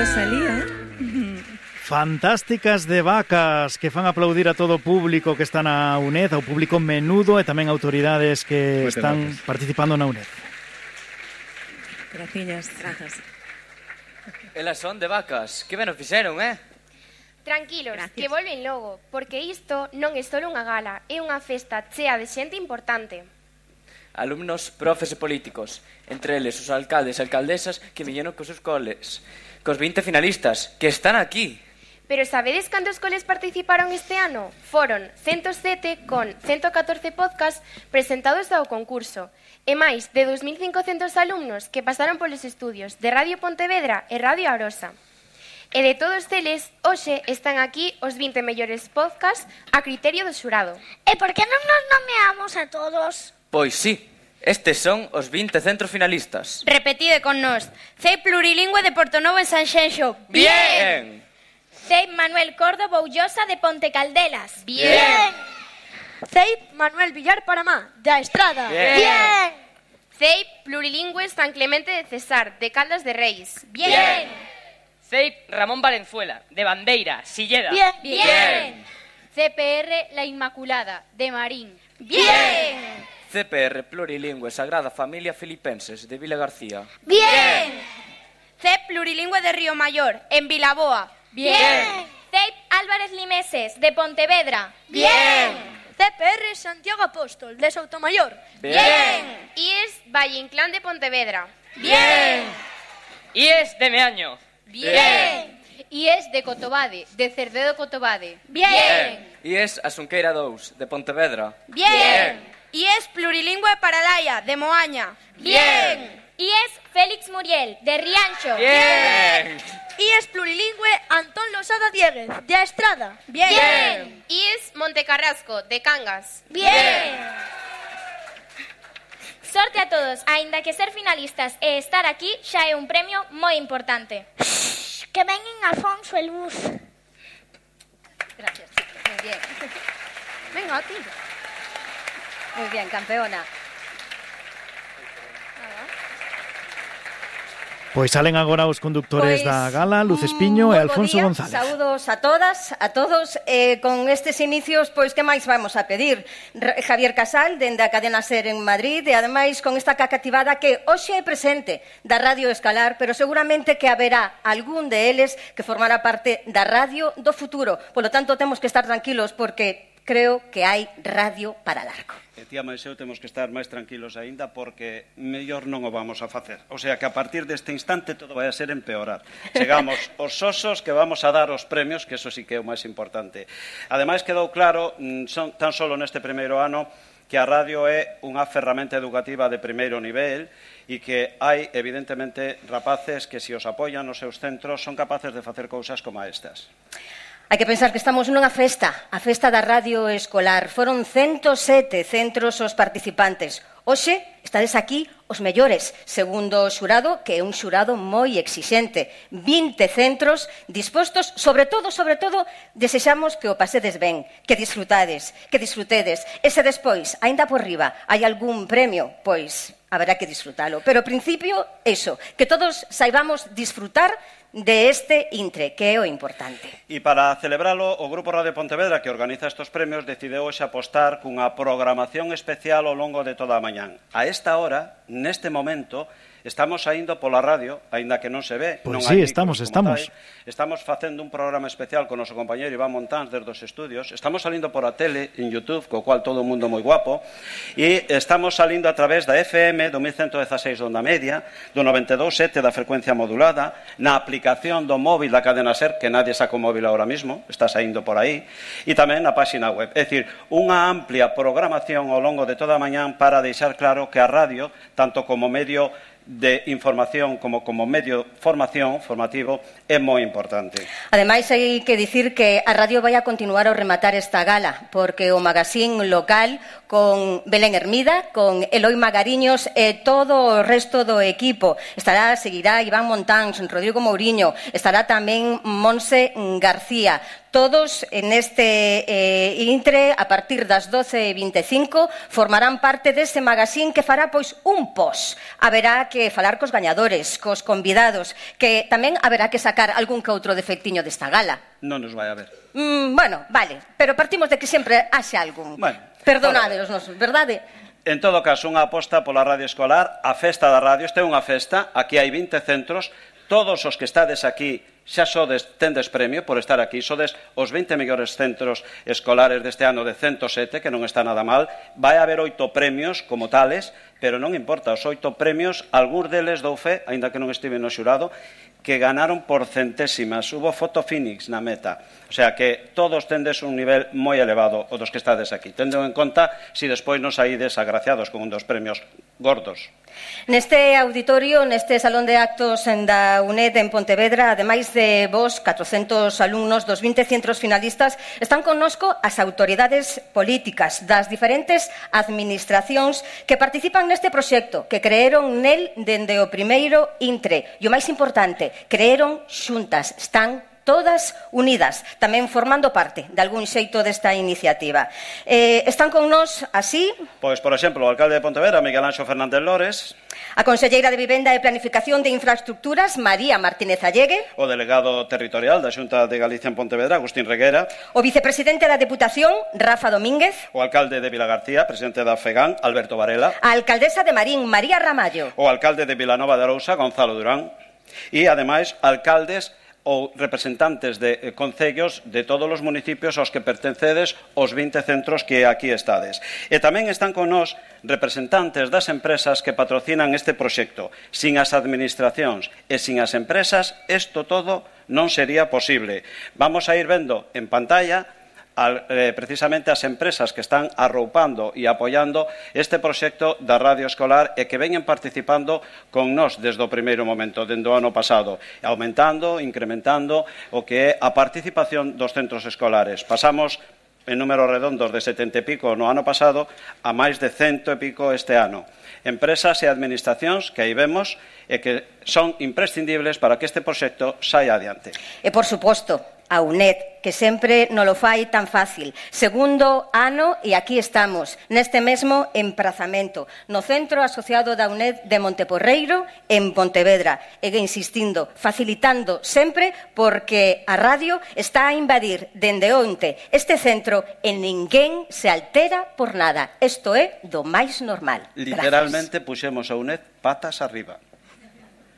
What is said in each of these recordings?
Rosalía. Fantásticas de vacas que fan aplaudir a todo o público que está na UNED, ao público menudo e tamén autoridades que están participando na UNED. Graciñas. Elas son de vacas. Que ben o fixeron, Tranquilos, que volven logo, porque isto non é só unha gala, é unha festa chea de xente importante. Alumnos, profes e políticos, entre eles os alcaldes e alcaldesas que viñeron cos seus coles, cos 20 finalistas, que están aquí. Pero sabedes cantos coles participaron este ano? Foron 107 con 114 podcasts presentados ao concurso e máis de 2.500 alumnos que pasaron polos estudios de Radio Pontevedra e Radio Arosa. E de todos eles, hoxe están aquí os 20 mellores podcasts a criterio do xurado. E por que non nos nomeamos a todos? Pois sí, estes son os 20 centros finalistas. Repetide con nós. CEI Plurilingüe de Portonovo en Sanxenxo. Bien! CEI Manuel Cordo Boullosa de Ponte Caldelas. Bien! CEI Manuel Villar Paramá, da Estrada. Bien! CEI Plurilingüe San Clemente de Cesar, de Caldas de Reis. Bien! CEI Ramón Valenzuela, de Bandeira, Silleda. Bien! CPR La Inmaculada, de Marín. Bien! CPR Plurilingüe Sagrada Familia Filipenses, de Vila García. Bien! CEP Plurilingüe de Río Mayor, en Vilaboa. Bien! CEIP Álvarez Limeses, de Pontevedra. Bien! CPR Santiago Apóstol, de Soutomayor. Bien! IES Valle Inclán de Pontevedra. Bien! IES de Meaño. Bien! IES de Cotobade, de Cerdedo Cotobade. Bien! IES Asunqueira 2, de Pontevedra. Bien! IES Plurilingüe Paralaia, de Moaña. Bien! IES Félix Muriel, de Rianxo. Bien! IES Plurilingüe Antón Losada Dieguez, de Estrada. Bien! IES Montecarrasco, de Cangas. Bien! Sorte a todos, aínda que ser finalistas e estar aquí xa é un premio moi importante. Que veñen Alfonso e Luz. Gracias, chicos, muy bien. Venga, tío. Muy bien, campeona. Pois salen agora os conductores da gala, Luz Espiño e Alfonso González. Saúdos a todas, a todos. Con estes inicios, pois que máis vamos a pedir? Javier Casal, dende a cadena SER en Madrid, e ademais con esta cacativada que hoxe é presente da Radio Escalar, pero seguramente que haberá algún de eles que formará parte da radio do futuro. Polo tanto, temos que estar tranquilos porque creo que hai radio para largo. E tía máis eu temos que estar máis tranquilos aínda porque mellor non o vamos a facer. O sea que a partir deste instante todo vai a ser empeorar. Chegamos os osos que vamos a dar os premios, que eso sí que é o máis importante. Ademais quedou claro, tan solo neste primeiro ano, que a radio é unha ferramenta educativa de primeiro nivel e que hai, evidentemente, rapaces que se os apoian nos seus centros son capaces de facer cousas como estas. Hai que pensar que estamos nunha festa, a festa da radio escolar. Foron 107 centros os participantes. Hoxe estades aquí os mellores, segundo o xurado, que é un xurado moi exixente. 20 centros dispostos, sobre todo, desexamos que o pasedes ben, que disfrutedes. E se despois, aínda por riba, hai algún premio, pois haberá que disfrutalo. Pero, ao principio, eso, que todos saibamos disfrutar de este intre, que é o importante. E para celebralo, o Grupo Radio Pontevedra, que organiza estes premios, decideu hoxe apostar cunha programación especial ao longo de toda a mañán. A esta hora, neste momento, estamos saindo pola radio, aínda que non se ve. Pois sí, estamos. Estamos facendo un programa especial con o noso compañero Iván Montáns desde os estudios. Estamos salindo por a tele, en YouTube, co cual todo o mundo moi guapo. E estamos salindo a través da FM, do 1116 de onda media, do 92.7 da frecuencia modulada, na aplicación do móvil da cadena SER, que nadie saca o móvil ahora mismo, está saindo por aí, e tamén na páxina web. É dicir, unha amplia programación ao longo de toda a mañán para deixar claro que a radio, tanto como medio de información como medio formativo é moi importante. Ademais, hai que dicir que a radio vai a continuar ao rematar esta gala, porque o magazín local con Belén Hermida, con Eloi Magariños e todo o resto do equipo. Seguirá Iván Montáns, Rodrigo Mouriño, estará tamén Monse García. Todos neste intre, a partir das 12:25, formarán parte deste magazín que fará pois un post. Haberá que falar cos gañadores, cos convidados, que tamén haberá que sacar algún que outro defectiño desta gala. Non nos vai a ver. Bueno, vale, pero partimos de que sempre haxe algún. Bueno, perdonade os nosos, verdade? En todo caso, unha aposta pola radio escolar, a festa da radio. Esta é unha festa, aquí hai 20 centros, todos os que estades aquí xa tendes premio por estar aquí, sodes os 20 mellores centros escolares deste ano de 107, que non está nada mal. Vai haber 8 premios como tales, pero non importa, os 8 premios, algúns deles dou fe, aínda que non estive no xurado, que ganaron por centésimas. Hubo foto Phoenix na meta. O sea que todos tendes un nivel moi elevado, o dos que estades aquí. Tendo en conta si despois nos saídes agraciados con un dos premios gordos. Neste auditorio, neste salón de actos da UNED en Pontevedra, ademais de vos, 400 alumnos dos 20 centros finalistas, están connosco as autoridades políticas das diferentes administracións que participan neste proxecto, que creeron nel dende o primeiro intre. E o máis importante, creeron xuntas, están todas unidas, tamén formando parte de algún xeito desta iniciativa. Están con nós así... Pois, por exemplo, o alcalde de Pontevedra, Miguel Anxo Fernández Lores. A conselleira de Vivenda e Planificación de Infraestructuras, María Martínez Allegue. O delegado territorial da Xunta de Galicia en Pontevedra, Agustín Reguera. O vicepresidente da Deputación, Rafa Domínguez. O alcalde de Vilagarcía, presidente da FEGAN, Alberto Varela. A alcaldesa de Marín, María Ramallo. O alcalde de Vilanova de Arousa, Gonzalo Durán. E, ademais, alcaldes ou representantes de concellos de todos os municipios aos que pertencedes os 20 centros que aquí estades. E tamén están con nós representantes das empresas que patrocinan este proxecto. Sin as administracións e sin as empresas, isto todo non sería posible. Vamos a ir vendo en pantalla precisamente as empresas que están arroupando e apoiando este proxecto da radio escolar e que veñen participando con nós desde o primeiro momento, dende o ano pasado, aumentando, incrementando o que é a participación dos centros escolares. Pasamos en números redondos de 70 e pico no ano pasado a máis de 100 e pico este ano. Empresas e administracións que aí vemos e que son imprescindibles para que este proxecto saia adiante. E, por suposto, a UNED, que sempre non lo fai tan fácil. Segundo ano e aquí estamos, neste mesmo emprazamento, no Centro Asociado da UNED de Monteporreiro, en Pontevedra. E insistindo, facilitando sempre, porque a radio está a invadir dende onte este centro e ninguén se altera por nada. Isto é do máis normal. Literalmente puxemos a UNED patas arriba.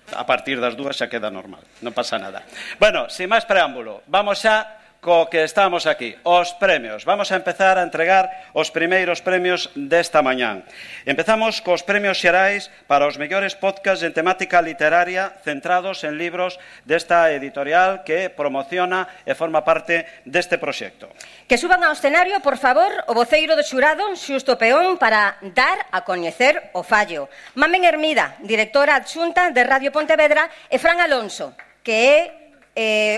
A partir das 2 xa queda normal, non pasa nada. Bueno, sin máis preámbulo, vamos xa co que estamos aquí, os premios. Vamos a empezar a entregar os primeiros premios desta mañán. Empezamos cos premios xerais para os mellores podcasts en temática literaria centrados en libros desta editorial que promociona e forma parte deste proxecto. Que suban ao escenario, por favor, o voceiro do xurado, Xusto Peón, para dar a coñecer o fallo. Mamen Hermida, directora adxunta de Radio Pontevedra, e Fran Alonso, que é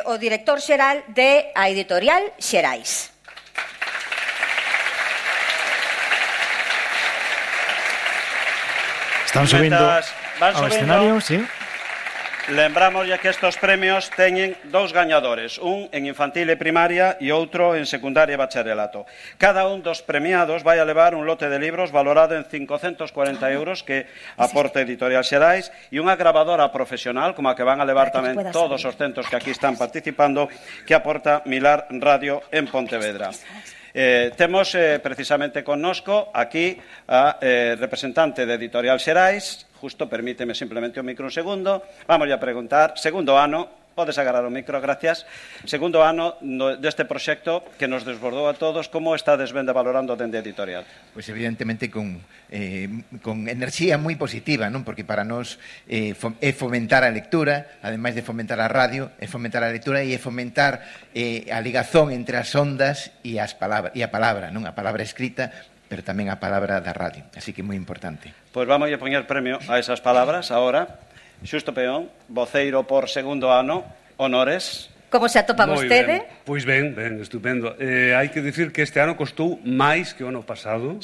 o director xeral de a editorial Xerais. Están subindo ao escenario, sí. Lembramos ya que estos premios teñen 2 gañadores, un en infantil e primaria e outro en secundaria e bacharelato. Cada un dos premiados vai a levar un lote de libros valorado en 540 euros que aporta Editorial Xerais e unha grabadora profesional, como a que van a levar tamén todos os centros que aquí están participando, que aporta Milar Radio en Pontevedra. Temos precisamente connosco aquí a representante de Editorial Xerais. Justo, permíteme simplemente un micro un segundo. Vamos a preguntar, segundo ano, podes agarrar o micro, gracias. Segundo ano deste proxecto que nos desbordou a todos, como estades vendo valorando dende Editorial? Pois evidentemente con enerxía moi positiva, non? Porque para nós é fomentar a lectura, ademais de fomentar a radio, é fomentar a lectura e é fomentar a ligazón entre as ondas e a palabra, non? A palabra escrita, pero tamén a palabra da radio. Así que moi importante. Pois vamos a poñer premio a esas palabras agora. Xusto Peón, voceiro por segundo ano, honores. Como se atopa vostede? Pois ben, estupendo. Hai que dicir que este ano costou máis que o ano pasado,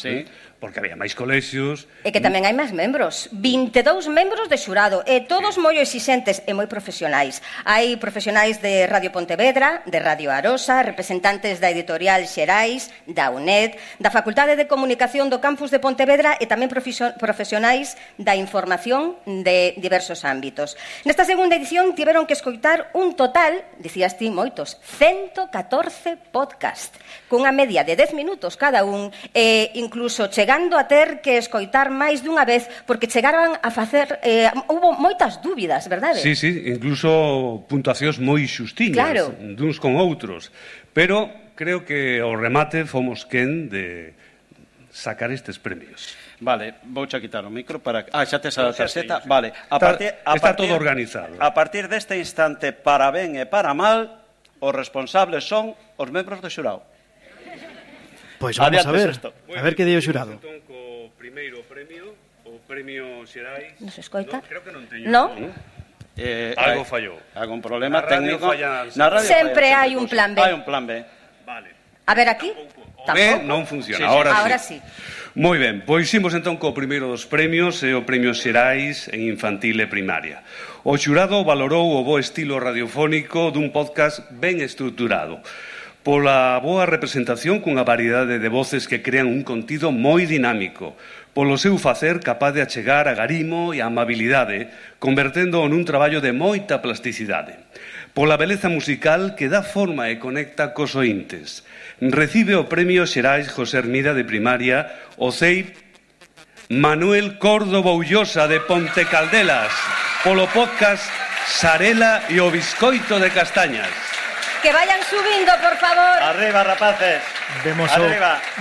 porque había máis colexios. E que tamén hai máis membros. 22 membros de xurado, e todos moi exixentes e moi profesionais. Hai profesionais de Radio Pontevedra, de Radio Arosa, representantes da Editorial Xerais, da UNED, da Facultade de Comunicación do Campus de Pontevedra e tamén profesionais da información de diversos ámbitos. Nesta segunda edición tiveron que escoitar un total, dicías ti moitos, 114 podcast, cunha media de 10 minutos cada un, e incluso chegando a ter que escoitar máis dunha vez, porque chegaron a facer, houve moitas dúbidas, verdade? Sí, incluso puntuacións moi xustiñas, duns con outros, pero creo que ao remate fomos quen de sacar estes premios. Vale, vouche quitar o micro para... xa tes a tarxeta. Vale, está todo organizado. A partir deste instante, para ben e para mal, os responsables son os membros do xurado. Pois vamos a ver que di o xurado. Entón, co primeiro premio, o premio Xerais... Nos escoita? Creo que non teño. No? Algo fallou. Algún problema técnico. Sempre hai un plan B. Hai un plan B. Vale. A ver, aquí? B non funciona, ahora sí. Moi ben, pois imos entón co primeiro dos premios, é o premio Xerais en infantil e primaria. O xurado valorou o bo estilo radiofónico dun podcast ben estruturado, pola boa representación cunha variedade de voces que crean un contido moi dinámico, polo seu facer capaz de achegar a garimo e a amabilidade, convertendo nun traballo de moita plasticidade, pola beleza musical que dá forma e conecta cos ointes. Recibe o premio Xerais José Hermida de primaria o CEIP Manuel Córdoba Ullosa de Ponte Caldelas polo podcast Sarela e o biscoito de castañas. Que vayan subindo, por favor. Arriba, rapaces.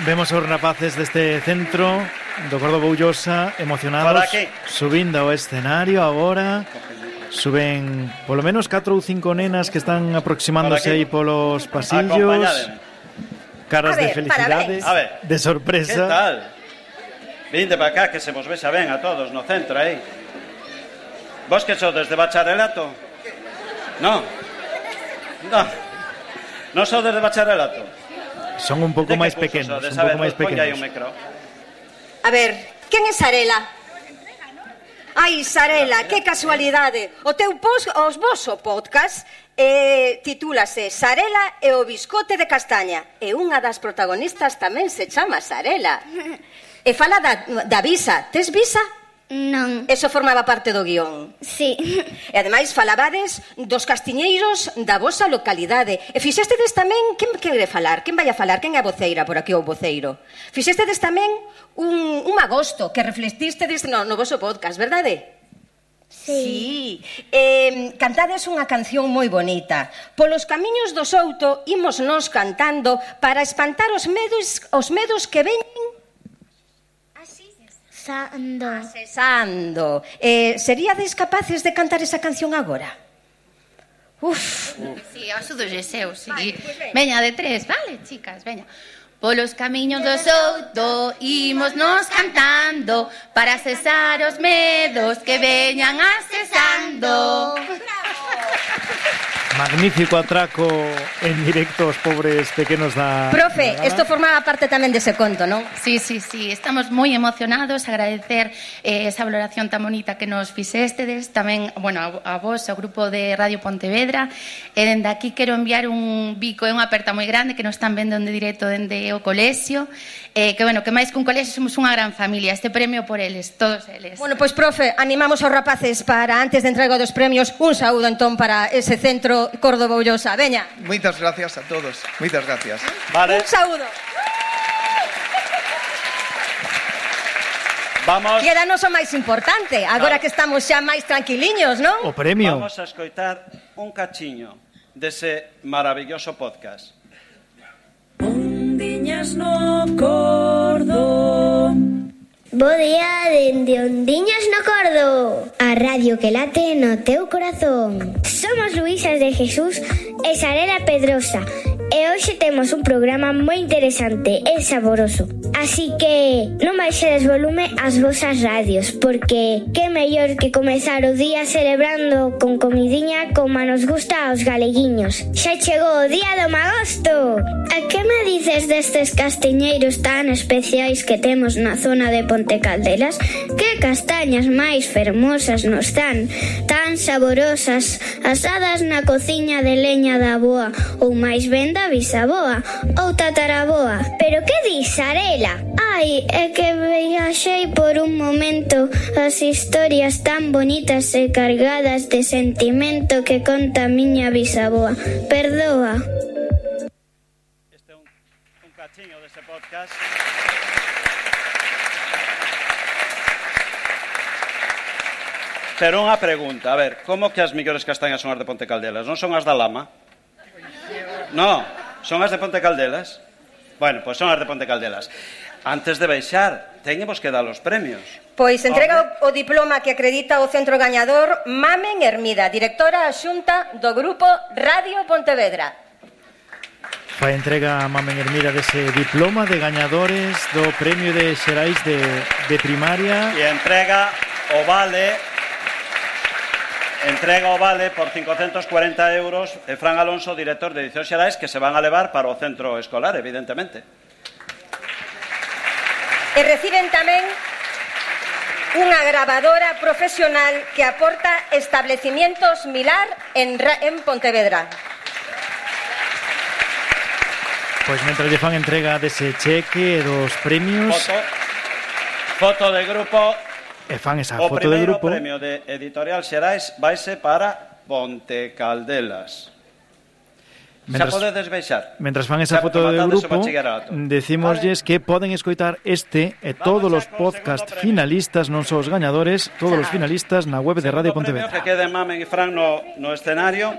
Vemos os rapaces deste centro do Córdoba Ullosa emocionados subindo ao escenario agora. Suben polo menos 4 ou 5 nenas que están aproximándose aí polos pasillos. Caras de felicidade, de sorpresa. Que tal? Vinde para cá que se vos vexa ben a todos no centro aí. Vos que sodes de bacharelato? Non. Non sodes de bacharelato? Son un pouco máis pequenos, A ver, quen é Sarela? Ai, Sarela, que casualidade. O teu os voso podcast titúlase Sarela e o biscote de castaña. E unha das protagonistas tamén se chama Sarela. E fala da visa. Tes visa? Non. Eso formaba parte do guión. Sí. E ademais falabades dos castiñeiros da vosa localidade. E fixestedes tamén, quen quere falar? Quen vai a falar? Quen é a voceira por aquí ou voceiro? Fixestedes tamén un agosto que reflectistedes no voso podcast, verdade? Sí. Cantades unha canción moi bonita. Polos camiños do Souto imos nos cantando para espantar os medos que veñen asesando. Seríades capaces de cantar esa canción agora? Uf. Sí, ao sudo Geseu, sí. Veña, de 3, vale, chicas, veña. Polos camiños do Souto imos nos cantando para cesar os medos que veñan asesando. Magnífico atraco en directo aos pobres pequenos da... Profe, isto formaba parte tamén dese conto, non? Sí, estamos moi emocionados, agradecer esa valoración tan bonita que nos fixestedes, tamén, bueno, a vos, ao grupo de Radio Pontevedra, e dende aquí quero enviar un bico e unha aperta moi grande que nos están vendo en directo dende o colexio, que, bueno, que máis que un colexio somos unha gran familia, este premio por eles, todos eles. Bueno, pois, profe, animamos aos rapaces para, antes de entrega dos premios, un saúdo entón para ese centro Córdoba Ullosa. Veña. Moitas gracias a todos. Moitas gracias. Vale. Un saúdo. Vamos. Quédanos o máis importante, agora que estamos xa máis tranquiliños, non? O premio. Vamos a escoitar un cachiño dese maravilloso podcast. Ondiñas no cordo. Bo día dende Ondiñas no Cordo, a radio que late no teu corazón. Somos Luísas de Jesús e Sarela Pedrosa E hoxe temos un programa moi interesante e saboroso. Así que non baixedes volume ás vosas radios, porque que mellor que comezar o día celebrando con comidiña como nos gusta aos galeguiños. Xa chegou o día do magosto! A que me dices destes castiñeiros tan especiais que temos na zona de Ponte Caldelas? Que castañas máis fermosas nos dan, tan saborosas, asadas na cociña de leña da avoa, ou máis ben da bisaboa, ou tataraboa. Pero que dis, Arela? Ai, é que viaxei por un momento as historias tan bonitas e cargadas de sentimento que conta a miña bisaboa. Perdoa. Este é un cachiño dese podcast. Pero unha pregunta, a ver, como que as mellores castañas son as de Ponte Caldelas? Non son as da Lama? No, son as de Ponte Caldelas. Bueno, pois son as de Ponte Caldelas. Antes de baixar, teñemos que dar os premios. Pois entrega o diploma que acredita o centro gañador Mamen Hermida, directora xunta do grupo Radio Pontevedra. Fai entrega a Mamen Hermida dese diploma de gañadores do premio de Xerais de primaria. E entrega o vale por 540 euros e Fran Alonso, director de Edicións Xerais, que se van a levar para o centro escolar, evidentemente. E reciben tamén unha grabadora profesional que aporta establecimientos Milar en Pontevedra. Pois mentre lle fan entrega dese cheque e dos premios... Foto de grupo... E fan esa foto de grupo. O primeiro premio de Editorial Xerais vaise para Ponte Caldelas. Xa podedes baixar. Mentras fan esa foto de grupo, decimosles que poden escoitar este e todos os podcast finalistas, non só os gañadores, todos os finalistas na web de Radio Pontevedra. Segundo premio que quede Mamen e Fran no escenario.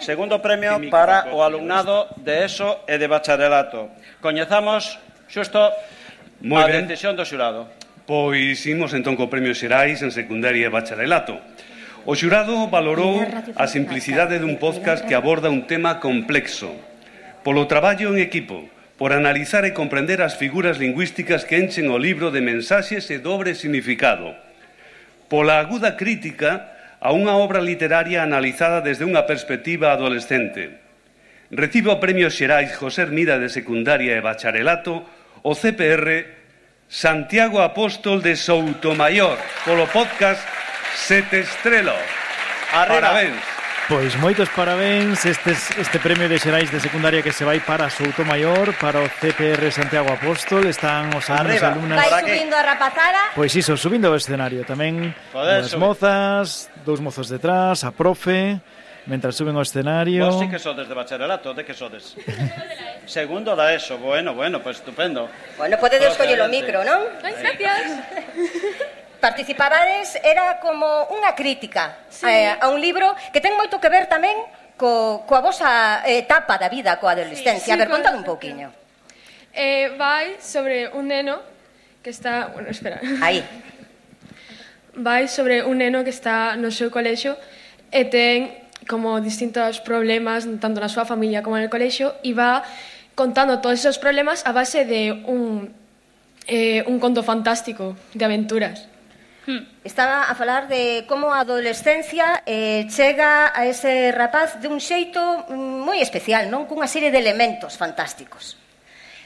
Segundo premio para o alumnado de ESO e de bacharelato. Coñezamos xusto a decisión do xurado. Pois imos entón co premio Xerais en secundaria e bacharelato. O xurado valorou a simplicidade dun podcast que aborda un tema complexo, polo traballo en equipo, por analizar e comprender as figuras lingüísticas que enchen o libro de mensaxes e dobre significado, pola aguda crítica a unha obra literaria analizada desde unha perspectiva adolescente. Recibe o premio Xerais José Hermida de secundaria e bacharelato o CPR Santiago Apóstol de Soutomayor polo podcast Sete Estrelo. Parabéns. Pois moitos parabéns. Este premio de Xerais de secundaria que se vai para Soutomayor, para o CPR Santiago Apóstol. Están os alumnos e alumnas. Vai subindo a rapazada. Pois iso, subindo ao escenario. Tamén as mozas, dous mozos detrás, a profe, mentras suben ao escenario. Vos sí que sodes de bacharelato, de que sodes? Segundo da ESO, bueno, pues estupendo. Bueno, podedes coller o micro, non? Gracias. Participabades, era como unha crítica a un libro que ten moito que ver tamén coa vosa etapa da vida, coa adolescencia. A ver, contad un pouquiño. Vai sobre un neno que está... Bueno, espera. Aí. Vai sobre un neno que está no seu colexio e ten como distintos problemas tanto na súa familia como no colexio e va contando todos esos problemas a base de un conto fantástico de aventuras. Estaba a falar de como a adolescencia chega a ese rapaz de un xeito moi especial, non? Cunha serie de elementos fantásticos.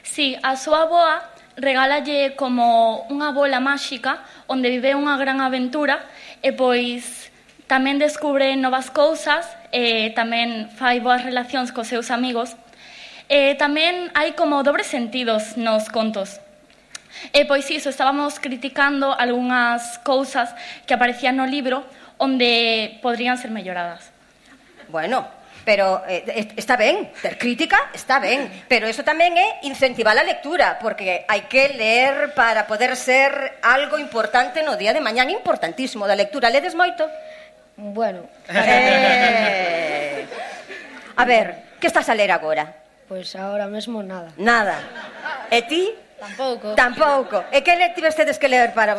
Sí, a súa avoa regálalle como unha bola máxica onde vive unha gran aventura e pois tamén descubre novas cousas e tamén fai boas relacións cos seus amigos. E tamén hai como dobres sentidos nos contos. E pois iso, estábamos criticando algunhas cousas que aparecían no libro onde podrían ser melloradas. Bueno, pero está ben, ter crítica está ben, pero eso tamén é incentivar a lectura, porque hai que ler para poder ser algo importante no día de mañán, importantísimo da lectura. Ledes moito? Bueno. A ver, que estás a ler agora? Pois agora mesmo nada. Nada. E ti? Tampouco. Tampouco. E que tivestedes que ler para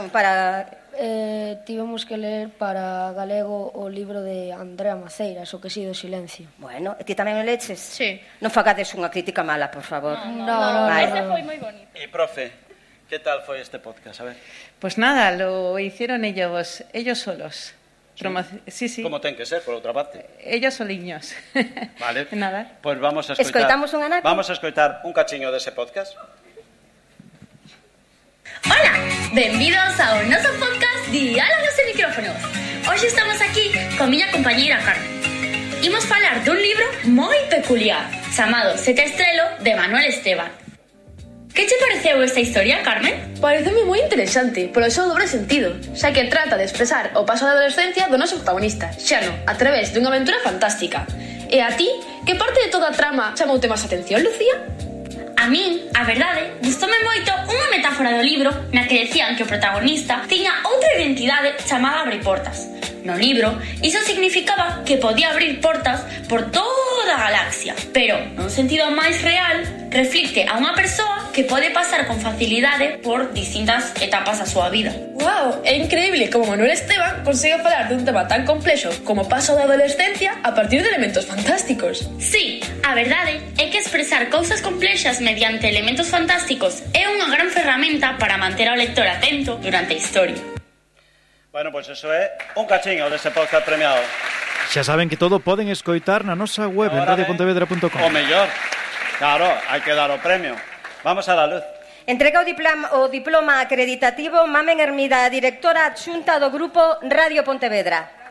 tivemos que ler para galego o libro de Andrea Maceiras, O que si do silencio. Bueno, e ti tamén o leches? Sí. Non fagades unha crítica mala, por favor. No. Ese foi moi bonito. Y profe, ¿qué tal fue este podcast? A ver. Pues nada, lo hicieron ellos solos. Sí. Como ten que ser, por outra parte. Ellos soliños. Vale. Nada. Pues vamos a escoitar. Escoitamos un anaco? Vamos a escoitar un cachiño dese podcast. Ola, benvidos ao noso podcast Diálogos e Micrófonos. Hoxe estamos aquí con miña compañeira Carmen. Imos falar dun libro moi peculiar chamado Sete Estrelo de Manuel Esteban. Que che pareceu esta historia, Carmen? Pareceme moi interesante, polo seu dobre sentido, xa que trata de expresar o paso da adolescencia do noso protagonista, Xano, a través dunha aventura fantástica. E a ti, que parte de toda a trama chamoute máis atención, Lucía? A min, a verdade, gustoume moito unha metáfora do libro na que decían que o protagonista tiña outra identidade chamada Abre Portas. No libro, iso significaba que podía abrir portas por toda a galaxia, pero, nun sentido máis real, reflicte a unha persoa que pode pasar con facilidade por distintas etapas da súa vida. Wow, é increíble como Manuel Esteban consigue falar dun tema tan complexo como o paso da adolescencia a partir de elementos fantásticos. Sí, a verdade é que expresar cousas complexas mediante elementos fantásticos é unha gran ferramenta para manter ao lector atento durante a historia. Bueno, pues eso é un cachiño dese podcast premiado. Xa saben que todo poden escoitar na nosa web en radiopontevedra.com. O mellor, claro, hai que dar o premio. Vamos a la luz. Entrega o diploma acreditativo Mamen Hermida, directora adxunta do grupo Radio Pontevedra.